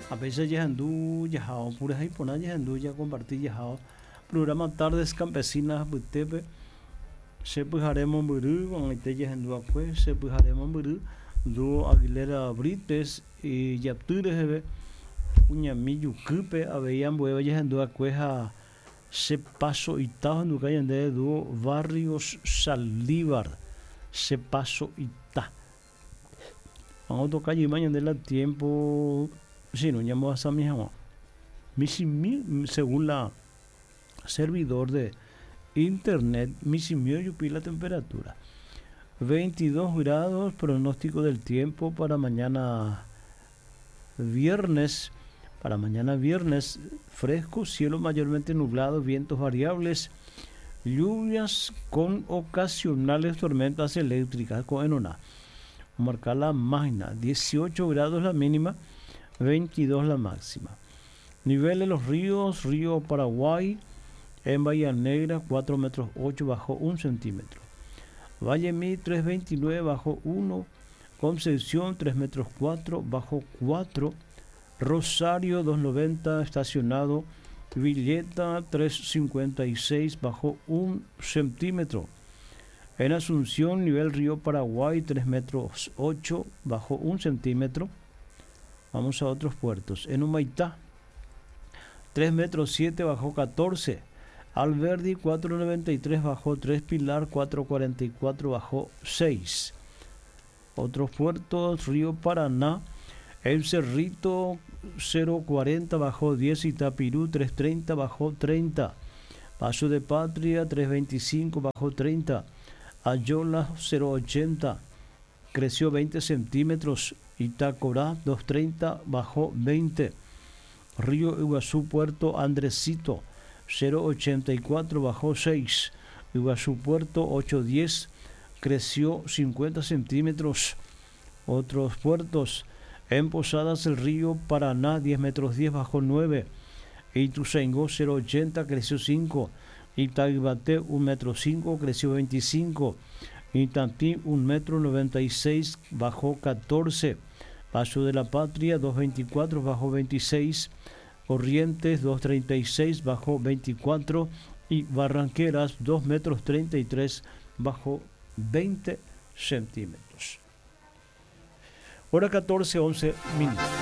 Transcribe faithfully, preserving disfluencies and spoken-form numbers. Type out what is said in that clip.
A veces jahendu jahao purahéi porã jahendu jakomparti jahao programa Tardes Campesinas apytépe che pyhare mombyry ko'ag̃aite jahenduakue che pyhare mombyry Dúo Aguilera Brítez ijaty reheve kuñami jukýpe avei ambuéva jahenduakue ha che paso ita ohenduka ñande Dúo Barrios Saldívar che paso ita otoka jeyma ñande la tiempo sino ñambohasami hag̃ua michĩmi según la servidor de internet michĩmi ojupi la temperatura veintidós grados pronóstico del tiempo para mañana viernes para mañana viernes fresco cielo mayormente nublado vientos variables lluvias con ocasionales tormentas eléctricas ko'ẽrõna omarka la máquina dieciocho grados la mínima veintidós la máxima nivel de los ríos río Paraguay en Bahía Negra cuatro metros ocho bajó un centímetro Vallemi tres veintinueve bajó uno Concepción tres metros cuatro bajó cuatro Rosario dos noventa estacionado Villeta tres cincuenta y seis bajó un centímetro En Asunción nivel río Paraguay tres metros ocho bajó un centímetro Vamos a otros puertos. En Humaitá tres metros siete bajó catorce Alberdi cuatro noventa y tres bajó tres Pilar cuatro cuarenta y cuatro bajó seis Otros puertos, Río Paraná, El Cerrito cero cuarenta bajó diez Itapirú tres treinta bajó treinta Paso de Patria tres veinticinco bajó treinta Ayola cero ochenta creció veinte centímetros Itacorá dos treinta bajó veinte Río Iguazú Puerto Andresito cero ochenta y cuatro bajó seis Iguazú Puerto ocho diez creció cincuenta centímetros Otros puertos, en Posadas el río Paraná diez metros diez bajó nueve Ituzaingó cero ochenta creció cinco Itaibaté un metro cinco creció veinticinco Itatí un metro noventa y seis bajó catorce Paso de la Patria dos veinticuatro bajó veintiséis Corrientes dos treinta y seis bajó veinticuatro y Barranqueras dos metros treinta y tres bajó veinte centímetros. Hora catorce, once minutos.